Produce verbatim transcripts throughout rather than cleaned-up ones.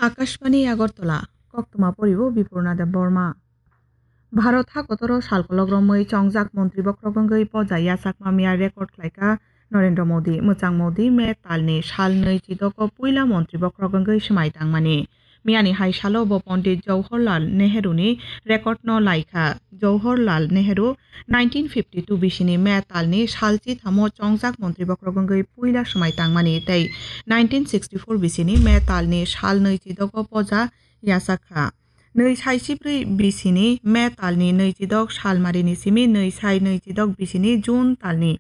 Akashbani Agartala, koktwma poribo Bipurna Debbarma. Bharat hakotoro salkolok romwi chongjak montri bokhorok wngwi poja yachakma miya record khlaikha Narendra Modi. Mwchang Modi May talni sal nwi chidogo puila montri bokhorok wngwi swmai tangmani. Miyani hai salo bo Pondit Jawaharlal Nehru ni record no laikha. Jawaharlal Nehru nineteen fifty two bisini May talni sal chithamo chongjak montri bokhorok wngwi puila swmai tangmani tei nineteen sixty four bisini May talni sal nwi chidogo poja yachakha. Nwi sai chibrwi bisini May talni nwi chidok salmarini simi nwi sai nwi chidok bisini June talni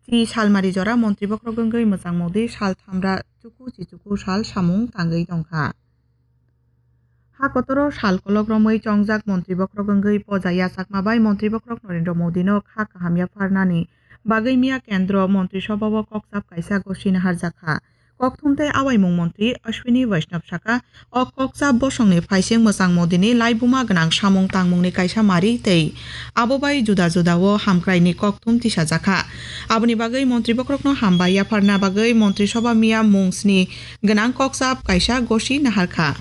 chi salmari jora montri bokhorok wngwi Mwchang Modi sal thamra chuku chichuku sal samung tangwi tongkha. Hakotoro salkolok romwi chongjak montri bokhorok wngwi poja yachakma bai montri bokhorok Narendra Modi no kha kaham yapharnani bagwi miya kendro montri sobao kokchap kaisa gosi naharjakha. Kokthum tei awaimung montri Ashwini Vaishnav saka, o kokchap bosongni phaising Mwchang Modini laibuma gwnang samung tangmungni kaisa mari tei abo bai juda juda o hamkraini kokthum tisajakha. Aboni bagwi montri bokhorokno hambai yapharna bagwi montri soba miya mung sni gwnang kokchap kaisa gosi naharkha.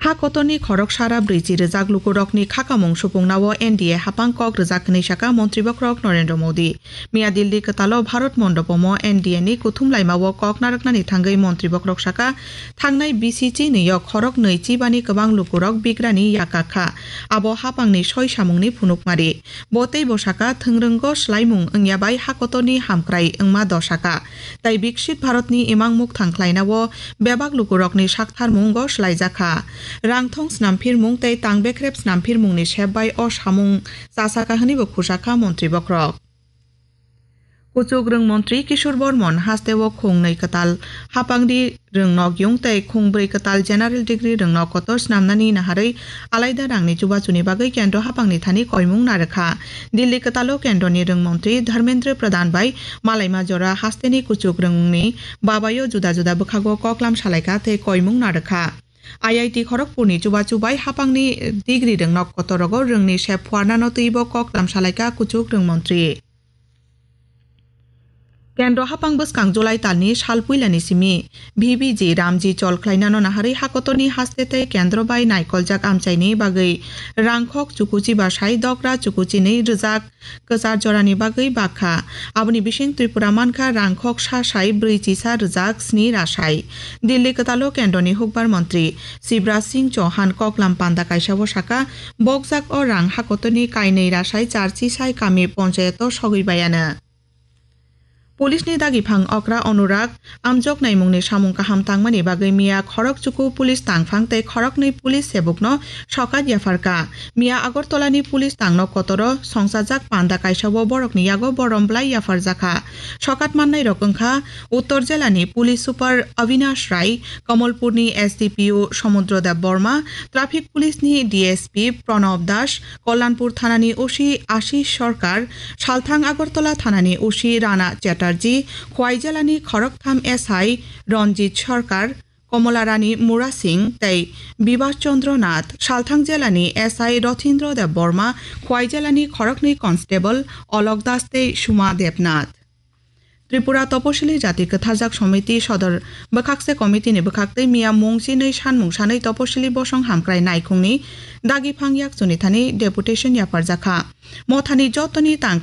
Ha kotorni khorok sara brwichi rwjak lukurokni khakamung supungnao N D A hapang kok rwjak hwnwi saka montri bokhorok Narendra Modi. Miya Delhi kwtalo Bharat Mondopomo N D A ni kuthum laimao kok narwknani thangwi montri bokhorok saka, thangnai bisi chinwi o khorok nwi chibani kwbang lukurok bigrani yakak kha. Abo hapangni soi samungni phunukmari. Bo teibo saka, thwngrwngo swlaimung wngya bai ha kotorni hamkrai wngma do saka. Tai Biksit Bharatni imang mukthang khlainao bebak lukurokni saktharmungo swlaijakha. Rangthong snamphirmung tei tangbekrep snamphirmungni sep bai o samung chasakha hwnwibo khusakha montri bokhorok. Kuchuk rwng montri Kishore Bormon hasteo khungnwi kwtal hapangni rwngnok yung tei khungbrwi kwtal general degree rwngnok kotor snamnani naharwi alaida rangni chubachuni bagwi kendro hapangni thani koimung narwkha. Delhi kwtalo kendroni rwng montri Dharmendra Pradhan bai malaima jora hasteni kuchuk rwngni babayo juda juda bwkhago koklam salaikha tei koimung narwkha. I I T Kharagpurni chubachu bai hapangni degree rwngnok kotorogo rwngni sep phuarnano twibo koklam salaikha kuchuk rwng montri. Kendro hapang bwskang July talni sal puilani simi V B G Ramji chol khlainano naharwi hakotorni haste tei kendro bai naikoljak amchaini bagwi rangkhok chukuchi basai dokra chukuchinwi rwjak kwchar jorani bagwi bakha. Aboni bising Tripura mankha rangkhok sa sai brwi chisa rwjak sni rasai. Delhi kwtalo kendroni hukbar montri Shivraj Singh Chauhan koklam panda kaisao saka, bokjak o rang hakotorni kainwi rasai char chisai kami ponchayato sogwi bayano. Police ni dagiphang okra Anurag amjok naimungni samung kaham tangmani bagwi miya khorok chuku police tangphang tei khoroknwi police sebukno sokat yapharkha. Miya Agartala ni police tangno kotoro songchajak panda kaisao borokni yago borom bwlai yapharjakha. Sokat mannairok wngkha Uttor Jilani Police Super Avinash Rai, Kamalpurni S D P O Samudra Deb Borma, Traffic Police ni D S P Pranab Das, Kalyanpur Thanani O C Ashish Sarkar, Salthang Agartala Thanani O C Rana Chatterjee, Khwai Jilani khoroktham S I Ranjit Sarkar, Kamolarani Mura Singh tei Bibas Chandra Nath, Salthang Jilani S I Rathindra Deb Borma, Khwai Jilani khoroknwi Constable Alok Das tei Suma Debnath. Tripura Toposili Jati Kwtharjak Somiti Sodor Bwkhakse Committee ni bwkhaktwi miya mung chinwi sanmung sanwi Toposili Bosong Hamkrai Naikhungni dagiphang yaksuni thani deputation yapharjakha. Mothani jotoni tangkra